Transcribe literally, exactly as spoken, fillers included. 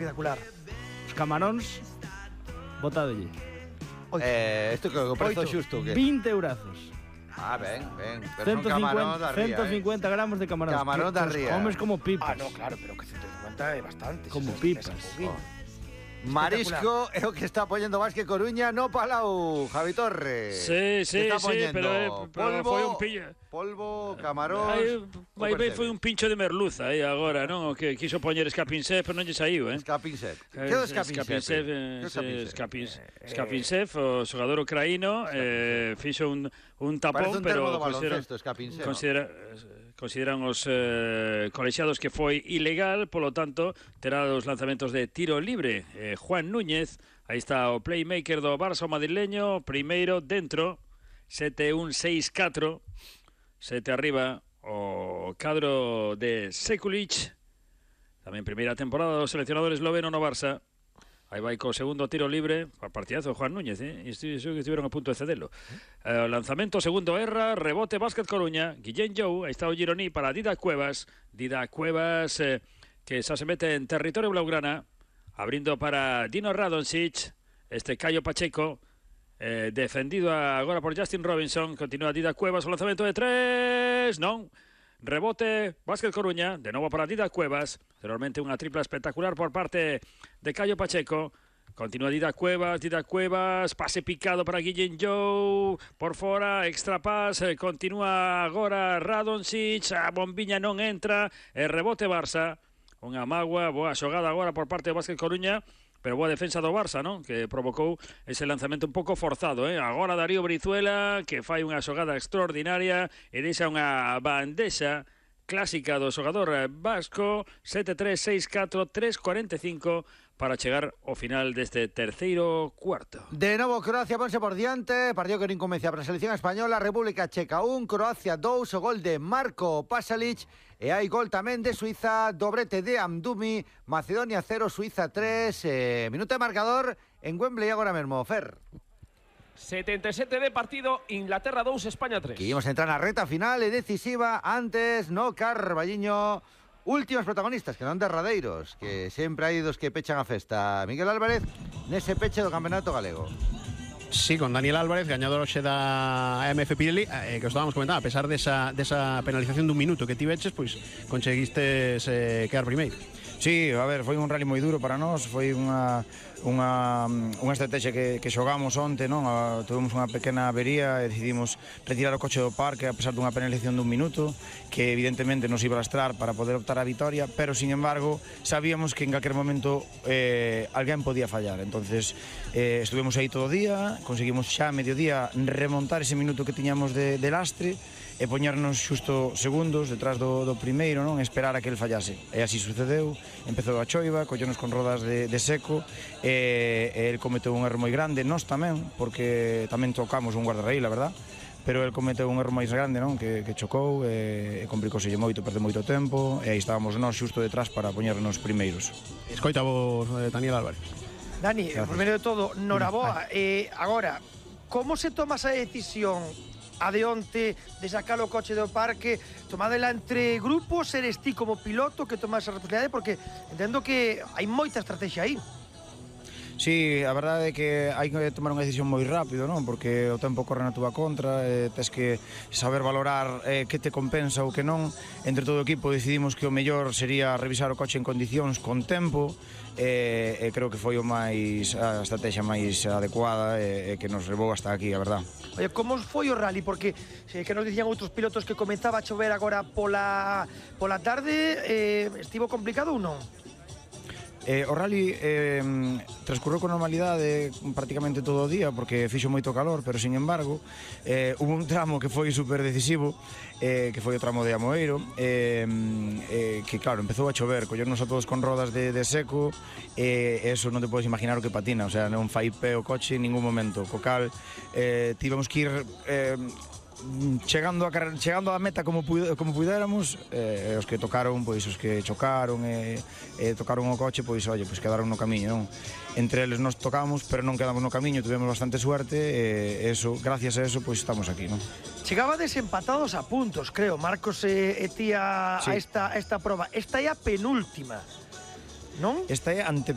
espectacular. Os camaróns, botadolle. Eh, isto que o prezo xusto, que? vinte eurazos. Ah, ben, ben. Pero son camarón da ría, ciento cincuenta eh. gramos de camarón. Camarón da ría. Comes como pipas. Ah, no, claro, pero que ciento cincuenta é bastante. Como esas, pipas. esas oh. Marisco é o que está poñendo Vázquez Coruña no Palau, Javi Torres. Sí, sí, está sí, pero, eh, pero polvo, foi un pillo. Polvo, camarón. Aí, aí vai foi un pincho de merluza aí agora, non? O que quiso poñer escapinsef, pero non lle saiu, eh? Escapinsef. Que é o escapinsef? Escapinsef, o xogador ucraíno, eh, fixo un, un tapón, un pero consideran, considera, consideran os eh, colexiados que foi ilegal, polo tanto, terá os lanzamentos de tiro libre. Eh, Juan Núñez, aí está o playmaker do Barça madrileño, primeiro dentro, sete un seis catro, sete arriba, o cadro de Sekulic, tamén primeira temporada do seleccionador esloveno no Barça. Aí vai co segundo tiro libre, partidazo Juan Núñez, eh? Isto que estiveron a punto de cedelo. Eh, lanzamento, segundo erra, rebote Vázquez Coruña, Guillén Jou, aí está o Gironí para Didac Cuevas, Didac Cuevas eh, que xa se mete en territorio blaugrana, abrindo para Dino Radonjic, este Caio Pacheco, eh, defendido agora por Justin Robinson, continúa Didac Cuevas, o lanzamento de tres, non, rebote Vázquez Coruña, de novo para Didac Cuevas, realmente unha tripla espectacular por parte de Caio Pacheco, continúa Didac Cuevas, Didac Cuevas, pase picado para Guillén Jou, por fora, extra pass, eh, continúa agora Radonjic, a bombiña non entra, e rebote Barça, unha magua, boa xogada agora por parte de Vázquez Coruña, pero boa defensa do Barça, non? Que provocou ese lanzamento un pouco forzado, eh? Agora Darío Brizuela, que fai unha xogada extraordinaria e deixa unha bandexa clásica do xogador vasco, sete tres seis catro tres cuarenta e cinco para chegar ao final deste terceiro cuarto. De novo Croacia ponse por diante, partido que non convencia para a selección española, República Checa un, Croacia dous, o gol de Marko Pasalic, e hai gol tamén de Suiza, dobrete de Amdumi, Macedonia cero, Suiza tres, eh, minuto de marcador en Wembley agora mesmo, Fer. setenta e sete de partido, Inglaterra dous, España tres. Que íbamos a entrar na reta final e decisiva, antes, no, Carballiño, últimos protagonistas, que non derradeiros, que sempre hai dos que pechan a festa. Miguel Álvarez, nese peche do Campeonato Galego. Sí, con Daniel Álvarez, gañador hoxe da M F Pirelli, eh, que os estábamos comentando, a pesar desa, desa penalización dun minuto que ti veches, pois conseguistes eh, quedar primeiro. Sí, a ver, foi un rally moi duro para nós, foi unha unha, unha estrategia que, que xogamos onte, non? A, tuvemos unha pequena avería e decidimos retirar o coche do parque a pesar dunha penalización dun minuto, que evidentemente nos iba a lastrar para poder optar a vitoria, pero sin embargo sabíamos que en calquer momento eh, alguén podía fallar, entonces eh, estuvemos aí todo o día, conseguimos xa a mediodía remontar ese minuto que tiñamos de, de lastre e poñernos xusto segundos detrás do, do primeiro, non? Esperar a que el fallase. E así sucedeu, empezou a choiva, collonos con rodas de, de seco, e, e el cometeu un erro moi grande, nós tamén, porque tamén tocamos un guardarraíl, a verdad, pero el cometeu un erro máis grande, non? Que, que chocou, e, e complicóselle moito, perdeu moito tempo, e aí estábamos nós xusto detrás para poñernos primeiros. Escoita vos, Daniel Álvarez. Dani, primeiro de todo, noraboa, eh, agora, como se toma esa decisión a de onte de sacar o coche do parque, tomadela entre grupos, eres ti como piloto que toma esa responsabilidade, porque entendo que hai moita estrategia aí. Sí, a verdade é que hai que tomar unha decisión moi rápido, non? Porque o tempo corre na túa contra, eh, tes que saber valorar eh, que te compensa ou que non. Entre todo o equipo decidimos que o mellor sería revisar o coche en condicións con tempo, e eh, eh, creo que foi o máis a estrategia máis adecuada e eh, que nos levou hasta aquí, a verdad. Oye, como foi o rally? Porque eh, que nos dicían outros pilotos que comenzaba a chover agora pola, pola tarde, eh, estivo complicado ou non? Eh, o rally eh, transcurreu con normalidade prácticamente todo o día porque fixo moito calor, pero sin embargo eh, hubo un tramo que foi super decisivo, eh, que foi o tramo de Amoeiro, eh, eh, que claro, empezou a chover, collernos a todos con rodas de, de seco, e eh, eso non te podes imaginar o que patina, o sea, non fai pé o coche en ningún momento, co cal eh, tivemos que ir eh, chegando a chegando á meta como como puidéramos, eh, os que tocaron, pois os que chocaron e, e tocaron o coche, pois oye, pois quedaron no camiño, non? Entre eles nos tocamos, pero non quedamos no camiño, tivemos bastante suerte e eso, gracias a eso, pois estamos aquí, non? Chegaba desempatados a puntos, creo, Marcos e, e tía sí. a esta a esta proba. Esta é a penúltima, non? Esta é ante